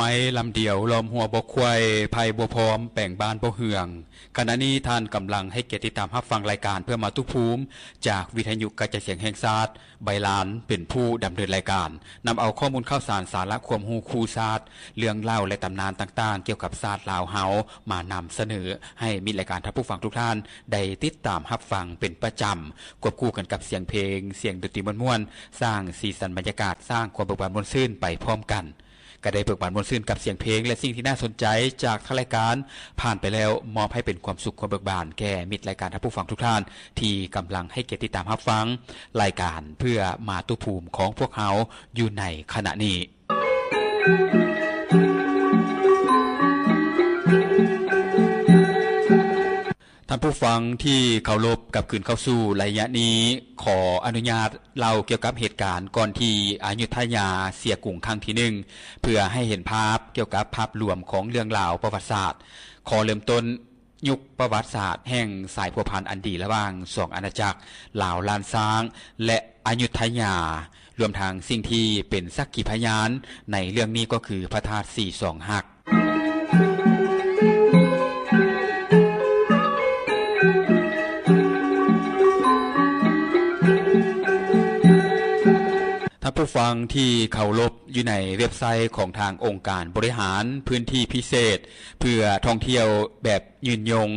ໄມ້ລຳດຽວ ລ້ອມຮົ້ວບໍ່ຄວາຍ ໄຜ່ບໍ່ພ້ອມ ແປງບ້ານບໍ່ເຮືອງ. ຂະນະນີ້ທ່ານກຳລັງໃຫ້ກຽດຕິດຕາມຮັບຟັງລາຍການເພື່ອມາຕຸພູມ ຈາກວິທະຍຸກະຈາຍສຽງແຫ່ງຊາດ, ໃບລານເປັນຜູ້ດຳເນີນລາຍການ, ນຳເອົາຂໍ້ມູນຂ່າວສານ, ສາລະຄວາມຮູ້ຄູ່ຊາດ, ເລື່ອງເລົ່າ ແລະ ຕຳນານຕ່າງໆ ກ່ຽວກັບຊາດລາວເຮົາ ມານຳສະເໜີໃຫ້ມິດລາຍການທ່ານຜູ້ຟັງທຸກທ່ານໄດ້ຕິດຕາມຮັບຟັງເປັນປະຈຳ, ຄວບຄູ່ກັນກັບສຽງເພງ, ສຽງດົນຕີມ່ວນໆ, ສ້າງສີສັນບັນຍາກາດ, ສ້າງຄວາມເບີກບານມ່ວນຊື່ນໄປພ້ອມກັນ. ກະໄດ້ເບີກບານມ່ວນຊື່ນກັບສຽງເພງ ແລະ ສິ່ງທີ່ໜ້າສົນໃຈຈາກທາງລາຍການຜ່ານໄປແລ້ວ, ມອບໃຫ້ເປັນຄວາມສຸກຄວາມເບີກບານແກ່ມິດລາຍການທ່ານຜູ້ຟັງທຸກທ່ານ ທີ່ກຳລັງໃຫ້ກຽດຕິດຕາມຮັບຟັງລາຍການເພື່ອມາຕຸພູມຂອງພວກເຮົາຢູ່ໃນຂະນະນີ້. ທ່ານຜູ້ຟັງທີ່ເຄົາລົບ, ກັບຄືນເຂົ້າສູ່ໄລຍະນີ້, ຂໍອະນຸຍາດເລົ່າກ່ຽວກັບເຫດການກ່ອນທີ່ອະຍຸດທະຍາເສຍກຸງຄັ້ງທີໜຶ່ງ ເພື່ອໃຫ້ເຫັນພາບກ່ຽວກັບພາບລວມຂອງເລື່ອງລາວປະຫວັດສາດ. ຂໍເລີ່ມຕົ້ນຍຸກປະຫວັດສາດແຫ່ງສາຍພົວພັນອັນດີລະຫວ່າງສອງອານາຈັກ ລາວລ້ານຊ້າງ ແລະ ອະຍຸດທະຍາ, ລວມທັງສິ່ງທີ່ເປັນສັກຂີພະຍານໃນເລື່ອງນີ້ກໍຄືພະທາດສີສອງຮັກ. ທ່ານຜູ້ຟັງທີ່ເຄົາລົບ, ຢູ່ໃນເວັບໄຊຂອງທາງອົງການບໍລິຫານພື້ນທີ່ພິເສດເພື່ອທ່ອງທ່ຽວແບບຍືນຍົງ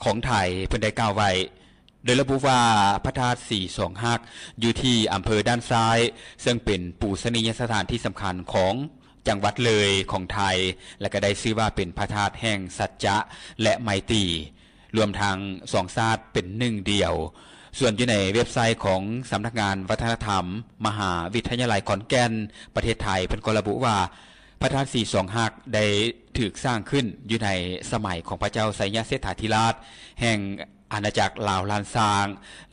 ຂອງໄທ ເພິ່ນໄດ້ກ່າວໄວ້ ໂດຍລະບຸວ່າ ພະທາດສີສອງຮັກ ຢູ່ທີ່ອຳເພີດ້ານຊ້າຍ ເຊິ່ງເປັນປູຊະນີຍະສະຖານທີ່ສຳຄັນຂອງຈັງຫວັດເລີຍຂອງໄທ ແລະ ກະໄດ້ຊື່ວ່າເປັນພະທາດແຫ່ງສັດຈະ ແລະ ໄມຕີ ລວມທັງສອງຊາດເປັນໜຶ່ງດຽວ. ສ່ວນຢູ່ໃນເວັບໄຊຂອງສຳນັກງານວັດທະນະທຳ ມະຫາວິທະຍາໄລຂອນແກ່ນ ປະເທດໄທ ເພິ່ນກໍລະບຸວ່າ ພະທາດສີສອງຮັກ ໄດ້ຖືກສ້າງຂຶ້ນຢູ່ໃນສະໄໝຂອງພະເຈົ້າໄຊຍະເສດຖາທິລາດ ແຫ່ງອານາຈັກລາວລ້ານຊ້າງ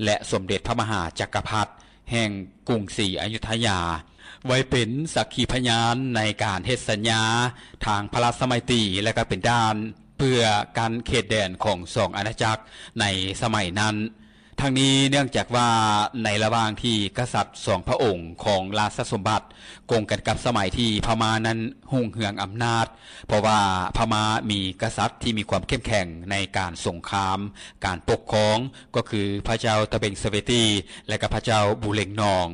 ແລະ ສົມເດັດພະມະຫາຈັກກະພັດ ແຫ່ງກຸງສີອະຍຸດທະຍາ ໄວ້ເປັນສັກຂີພະຍານໃນການເຮັດສັນຍາທາງພະລາຊະໄມຕີ ແລະ ກະເປັນດ່ານເພື່ອກັ້ນເຂດແດນຂອງສອງອານາຈັກໃນສະໄໝນັ້ນ. ທັງນີ້ເນື່ອງຈາກວ່າໃນລະຫວ່າງທີ່ກະສັດສອງພະອົງຂອງລາຊະສົມບັດກົງກັນກັບສະໄໝທີ່ພະມ້ານັ້ນຮຸ່ງເຮືອງອຳນາດ, ເພາະວ່າພະມ້າມີກະສັດທີ່ມີຄວາມເຂັ້ມແຂງໃນການສົງຄາມ, ການປົກຄອງ, ກໍຄືພະເຈົ້າຕະເບັງສະເວຕີ ແລະ ກະພະເຈົ້າບູເລັງນອງ,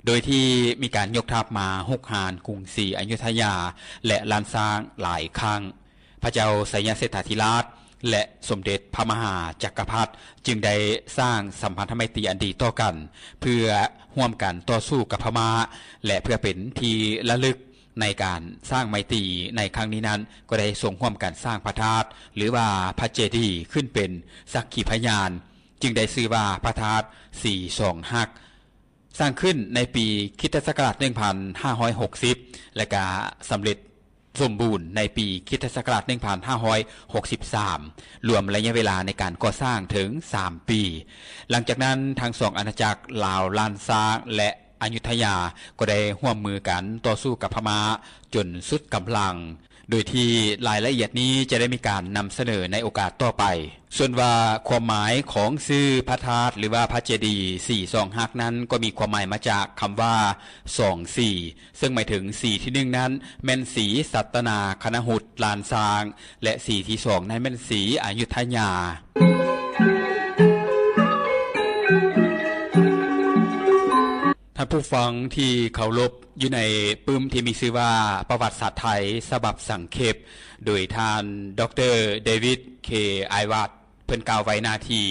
ໂດຍທີ່ມີການຍົກທັບມາຮຸກຮານກຸງສີອະຍຸດທະຍາ ແລະ ລ້ານຊ້າງຫຼາຍຄັ້ງ. ພະເຈົ້າໄຊຍະເສດຖາທິລາດ ແລະ ສົມເດັດພະມະຫາຈັກກະພັດ ຈຶ່ງໄດ້ສ້າງສຳພັນທະໄມຕີອັນດີຕໍ່ກັນ ເພື່ອຮ່ວມກັນຕໍ່ສູ້ກັບພະມ້າ ແລະ ເພື່ອເປັນທີ່ລະລຶກໃນການສ້າງໄມຕີໃນຄັ້ງນີ້ນັ້ນ ກໍໄດ້ຊົງຮ່ວມກັນສ້າງພະທາດ ຫຼືວ່າພະເຈດີ ຂຶ້ນເປັນສັກຂີພະຍານ ຈຶ່ງໄດ້ຊື່ວ່າພະທາດສີສອງຮັກ. ສ້າງຂຶ້ນໃນປີຄຣິສຕະສັກກະລາດໜຶ່ງພັນຫ້າຮ້ອຍຫົກສິບ ແລະ ກະສຳເລັດສົມບູນໃນປີຄຣິສຕະສັກກະລາດໜຶ່ງພັນຫ້າຮ້ອຍຫົກສິບສາມ ລວມໄລຍະເວລາໃນການກໍ່ສ້າງເຖິງສາມປີ. ຫຼັງຈາກນັ້ນ ທັງສອງອານາຈັກລາວລ້ານຊ້າງ ແລະ ອະຍຸດທະຍາ ກໍໄດ້ຮ່ວມມືກັນຕໍ່ສູ້ກັບພະມ້າຈົນສຸດກຳລັງ. ໂດຍທີ່ລາຍລະອຽດນີ້ຈະໄດ້ມີການນຳສະເໜີໃນໂອກາດຕໍ່ໄປ. ສ່ວນວ່າຄວາມໝາຍຂອງຊື່ພະທາດ ຫຼືວ່າພະເຈດີສີສອງຮັກນັ້ນ ກໍມີຄວາມໝາຍມາຈາກຄຳວ່າສອງສີ, ເຊິ່ງໝາຍເຖິງສີທີໜຶ່ງນັ້ນແມ່ນສີສັດຕະນາຄະນະຫຸດລ້ານຊ້າງ ແລະ ສີທີສອງນັ້ນແມ່ນສີອະຍຸດທະຍາ. ທ່ານຜູ້ຟັງທີ່ເຄົາລົບ, ຢູ່ໃນປຶ້ມທີ່ມີຊື່ວ່າ ປະຫວັດສາດໄທສະບັບສັງເຂບ ໂດຍທ່ານ ດຣ. ເດວິດ ເຄ ໄອວາດ ເພິ່ນກ່າວໄວ້ໜ້າທີ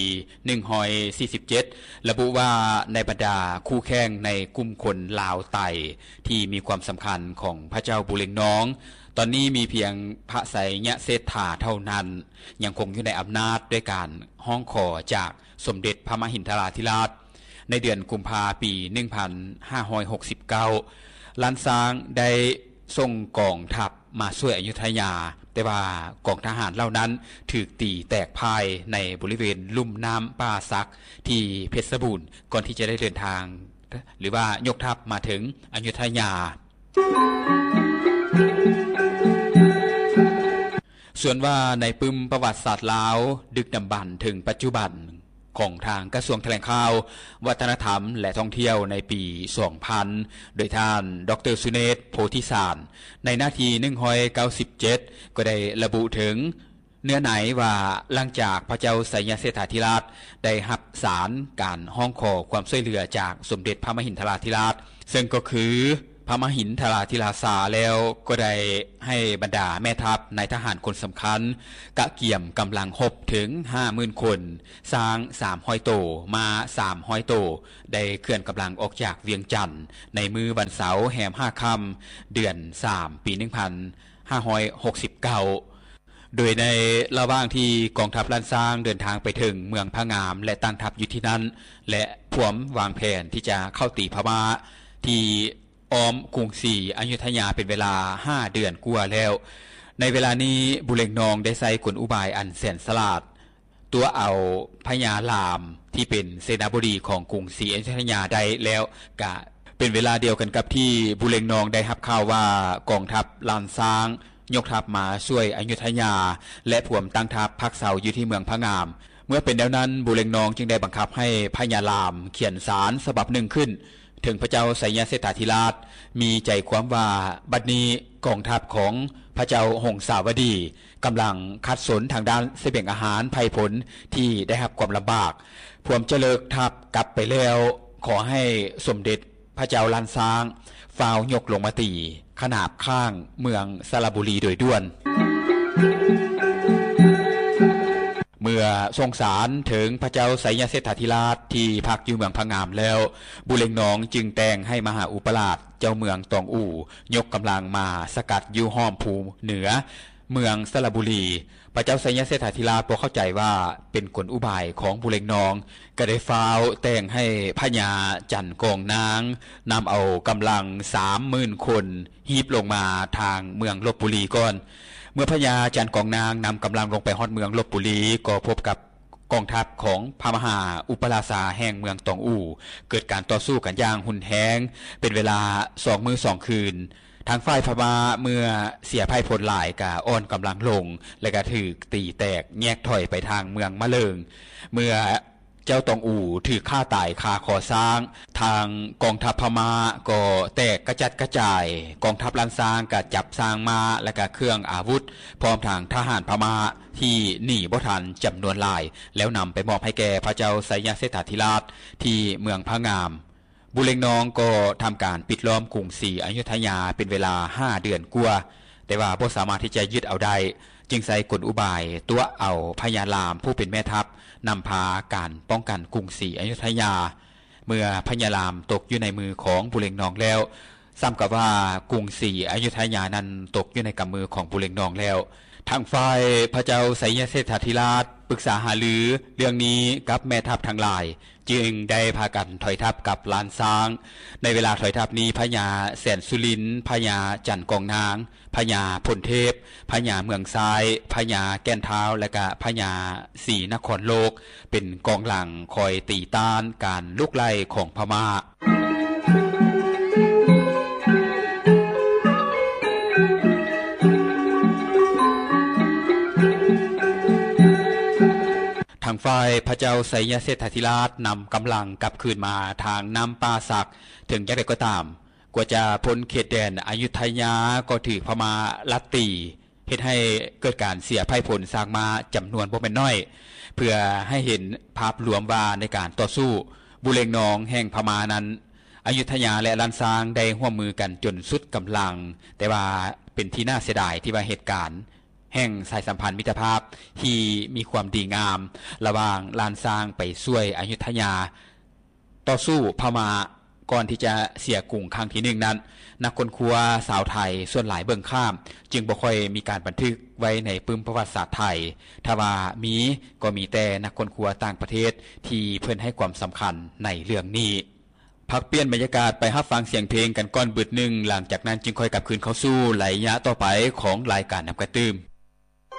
ໜຶ່ງຮ້ອຍສີ່ສິບເຈັດ ລະບຸວ່າ ໃນບັນດາຄູ່ແຂ່ງໃນກຸ່ມຄົນລາວໄຕທີ່ມີຄວາມສຳຄັນຂອງພະເຈົ້າບູເລັງນອງ, ຕອນນີ້ມີພຽງພະໄຊຍະເສດຖາເທົ່ານັ້ນ ຍັງຄົງຢູ່ໃນອຳນາດ ດ້ວຍການຮ້ອງຂໍຈາກສົມເດັດພະມະຫິນທະລາທິລາດ. ໃນເດືອນກຸມພາປີໜຶ່ງພັນຫ້າຮ້ອຍຫົກສິບເກົ້າ ລ້ານຊ້າງໄດ້ສົ່ງກອງທັບມາຊ່ວຍອະຍຸດທະຍາ, ແຕ່ວ່າກອງທະຫານເຫຼົ່ານັ້ນຖືກຕີແຕກພ່າຍໃນບໍລິເວນລຸ່ມນ້ຳປ່າສັກທີ່ເພັດສະບູນ ກ່ອນທີ່ຈະໄດ້ເດີນທາງ ຫຼືວ່າຍົກທັບມາເຖິງອະຍຸດທະຍາ. ສ່ວນວ່າໃນປຶ້ມປະຫວັດສາດລາວ ດຶກດຳບັນເຖິງປັດຈຸບັນ ຂອງທາງກະຊວງຖະແຫຼງຂ່າວ, ວັດທະນະທຳ ແລະ ທ່ອງທ່ຽວໃນປີສອງພັນ ໂດຍທ່ານ ດຣ ສຸເນດ ໂພທິສານ ໃນໜ້າທີໜຶ່ງຮ້ອຍເກົ້າສິບເຈັດ ກໍໄດ້ລະບຸເຖິງເນື້ອໃນວ່າ ຫຼັງຈາກພະເຈົ້າໄຊຍະເຊດຖາທິລາດໄດ້ຮັບສານການຮ້ອງຂໍຄວາມຊ່ວຍເຫຼືອຈາກສົມເດັດພະມະຫິນທະລາທິລາດ ເຊິ່ງກໍຄື ພະມະຫິນທະລາທິລາຊາແລ້ວ ກໍໄດ້ໃຫ້ບັນດາແມ່ທັບນາຍທະຫານຄົນສຳຄັນ ກະກຽມກຳລັງຮົບເຖິງຫ້າໝື່ນຄົນ, ຊ້າງສາມຮ້ອຍໂຕ, ມ້າສາມຮ້ອຍໂຕ ໄດ້ເຄື່ອນກຳລັງອອກຈາກວຽງຈັນ ໃນມື້ວັນເສົາແຮມຫ້າຄ່ຳ ເດືອນສາມ ປີໜຶ່ງພັນຫ້າຮ້ອຍຫົກສິບເກົ້າ ໂດຍໃນລະຫວ່າງທີ່ກອງທັບລ້ານຊ້າງເດີນທາງໄປເຖິງເມືອງພະງາມ ແລະ ຕັ້ງທັບຢູ່ທີ່ນັ້ນ ແລະ ພວມວາງແຜນທີ່ຈະເຂົ້າຕີພະມ້າທີ່ອ້ອມກຸງສີອະຍຸດທະຍາເປັນເວລາຫ້າເດືອນກວ່າແລ້ວ. ໃນເວລານີ້ ບູເລັງນອງໄດ້ໃຊ້ກົນອຸບາຍອັນແສນສະຫຼາດ ຕົວະເອົາພະຍາລາມທີ່ເປັນເສນາບໍດີຂອງກຸງສີອະຍຸດທະຍາໄດ້ແລ້ວ. ກະເປັນເວລາດຽວກັນກັບທີ່ບູເລັງນອງໄດ້ຮັບຂ່າວວ່າ ກອງທັບລ້ານຊ້າງ ຍົກທັບມາຊ່ວຍອະຍຸດທະຍາ ແລະ ພວມຕັ້ງທັບພັກເຊົາຢູ່ທີ່ເມືອງພະງາມ. ເມື່ອເປັນແນວນັ້ນ ບູເລັງນອງຈຶ່ງໄດ້ບັງຄັບໃຫ້ພະຍາລາມຂຽນສານສະບັບໜຶ່ງຂຶ້ນ ເຖິງພະເຈົ້າໄຊຍະເຊດຖາທິລາດ ມີໃຈຄວາມວ່າ ບັດນີ້ກອງທັບຂອງພະເຈົ້າຫົງສາວະດີ ກຳລັງຂັດສົນທາງດ້ານສະບຽງອາຫານໄພ່ພົນທີ່ໄດ້ຮັບຄວາມລຳບາກ ພວມຈະເລີກທັບກັບໄປແລ້ວ ຂໍໃຫ້ສົມເດັດ ພະເຈົ້າລ້ານຊ້າງ ຟ້າວຍົກລົງມາຕີຂະໜາບຂ້າງເມືອງສະລະບູລີໂດຍດ່ວນ. ເມື່ອສົ່ງສານເຖິງພະເຈົ້າໄຊຍະເຊດຖາທິລາດທີ່ພັກຢູ່ເມືອງພະງາມແລ້ວ, ບູເລັງນອງຈຶ່ງແຕ່ງໃຫ້ມະຫາອຸປະລາດເຈົ້າເມືອງຕອງອູ່ ຍົກກຳລັງມາສະກັດຢູ່ອ້ອມພູເໜືອ ເມືອງສະລະບູລີ. ພະເຈົ້າໄຊຍະເຊດຖາທິລາດບໍ່ເຂົ້າໃຈວ່າເປັນກົນອຸບາຍຂອງບູເລັງນອງ, ກໍໄດ້ຟ້າວແຕ່ງໃຫ້ພະຍາຈັນກອງນາງ ນຳເອົາກຳລັງສາມໝື່ນຄົນ ຮີບລົງມາທາງເມືອງລົບບູລີກ່ອນ. ເມື່ອພະຍາຈັນກອງນາງນຳກຳລັງລົງໄປຮອດເມືອງລົບບູລີ ກໍພົບກັບກອງທັບຂອງພະມະຫາອຸປະລາຊາແຫ່ງເມືອງຕອງອູ່ ເກີດການຕໍ່ສູ້ກັນຢ່າງຮຸນແຮງເປັນເວລາສອງມື້ສອງຄືນ. ທາງຝ່າຍພະມ້າເມື່ອເສຍໄພ່ພົນຫຼາຍກະອ່ອນກຳລັງລົງ ແລະ ກະຖືກຕີແຕກແຍກຖອຍໄປທາງເມືອງມະເລີງ. ເມື່ອເຈົ້າຕອງອູ່ຖືກຂ້າຕາຍຄາຄໍຊ້າງ, ທາງກອງທັບພະມ້າກໍແຕກກະຈັດກະຈາຍ, ກອງທັບລ້ານຊ້າງກະຈັບຊ້າງມ້າ ແລະ ກະເຄື່ອງອາວຸດ ພ້ອມທັງທະຫານພະມ້າທີ່ໜີບໍ່ທັນຈຳນວນຫຼາຍ ແລ້ວນຳໄປມອບໃຫ້ແກ່ພະເຈົ້າໄຊຍະເຊດຖາທິລາດທີ່ເມືອງພະງາມ. ບູເລັງນອງກໍທຳການປິດລ້ອມກຸງສີອະຍຸດທະຍາເປັນເວລາຫ້າເດືອນກວ່າ, ແຕ່ວ່າບໍ່ສາມາດທີ່ຈະຍຶດເອົາໄດ້, ຈຶ່ງໃຊ້ກົນອຸບາຍຕົວະເອົາພະຍາລາມຜູ້ເປັນແມ່ທັບ ນຳພາການປ້ອງກັນກຸງສີອະຍຸດທະຍາ. ເມື່ອພະຍາລາມຕົກຢູ່ໃນມືຂອງບູເລັງນອງແລ້ວ, ສ່ຳກັບວ່າກຸງສີອະຍຸດທະຍານັ້ນຕົກຢູ່ໃນກຳມືຂອງບູເລັງນອງແລ້ວ. ທາງຝ່າຍພະເຈົ້າໄຊຍະເຊດຖາທິລາດປຶກສາຫາລືເລື່ອງນີ້ກັບແມ່ທັບທັງຫຼາຍ, ຈຶ່ງໄດ້ພາກັນຖອຍທັບກັບລ້ານຊ້າງ. ໃນເວລາຖອຍທັບນີ້ ພະຍາແສນສຸລິນ, ພະຍາຈັນກອງນາງ, ພະຍາພົນເທບ, ພະຍາເມືອງຊາຍ, ພະຍາແກ່ນທ້າວ ແລະ ກະພະຍາສີນະຄອນໂລກ ເປັນກອງຫຼັງຄອຍຕີຕ້ານການລຸກໄລ່ຂອງພະມ້າ. ທາງຝ່າຍພະເຈົ້າໄຊຍະເຊດຖາທິລາດນຳກຳລັງກັບຄືນມາທາງນ້ຳປ່າສັກ. ເຖິງຢ່າງໃດກໍຕາມ, ກວ່າຈະພົ້ນເຂດແດນອະຍຸດທະຍາ ກໍຖືກພະມ້າລັດຕີ, ເຮັດໃຫ້ເກີດການເສຍໄພ່ພົນຊ້າງມ້າຈຳນວນບໍ່ແມ່ນໜ້ອຍ. ເພື່ອໃຫ້ເຫັນພາບລວມວ່າໃນການຕໍ່ສູ້ ບູເລັງນອງແຫ່ງພະມ້ານັ້ນ, ອະຍຸດທະຍາ ແລະ ລ້ານຊ້າງໄດ້ຮ່ວມມືກັນຈົນສຸດກຳລັງ, ແຕ່ວ່າເປັນທີ່ໜ້າເສຍດາຍທີ່ວ່າເຫດການແຫ່ງສາຍສຳພັນມິດຕະພາບທີ່ມີຄວາມດີງາມລະຫວ່າງລ້ານຊ້າງໄປຊ່ວຍອະຍຸດທະຍາ ຕໍ່ສູ້ພະມ້າ ກ່ອນທີ່ຈະເສຍກຸງຄັ້ງທີໜຶ່ງນັ້ນ, ນັກຄົ້ນຄວ້າຊາວໄທສ່ວນຫຼາຍເບິ່ງຂ້າມ, ຈຶ່ງບໍ່ຄ່ອຍມີການບັນທຶກໄວ້ໃນປຶ້ມປະຫວັດສາດໄທ. ຖ້າວ່າມີ, ກໍມີແຕ່ນັກຄົ້ນຄວ້າຕ່າງປະເທດທີ່ເພິ່ນໃຫ້ຄວາມສຳຄັນໃນເລື່ອງນີ້. ພັກປ່ຽນບັນຍາກາດໄປຮັບຟັງສຽງເພງກັນກ່ອນບຶດໜຶ່ງ, ຫຼັງຈາກນັ້ນຈຶ່ງຄ່ອຍກັບຄືນເຂົ້າສູ່ໄລຍະຕໍ່ໄປຂອງລາຍການນຳກັນຕື່ມ.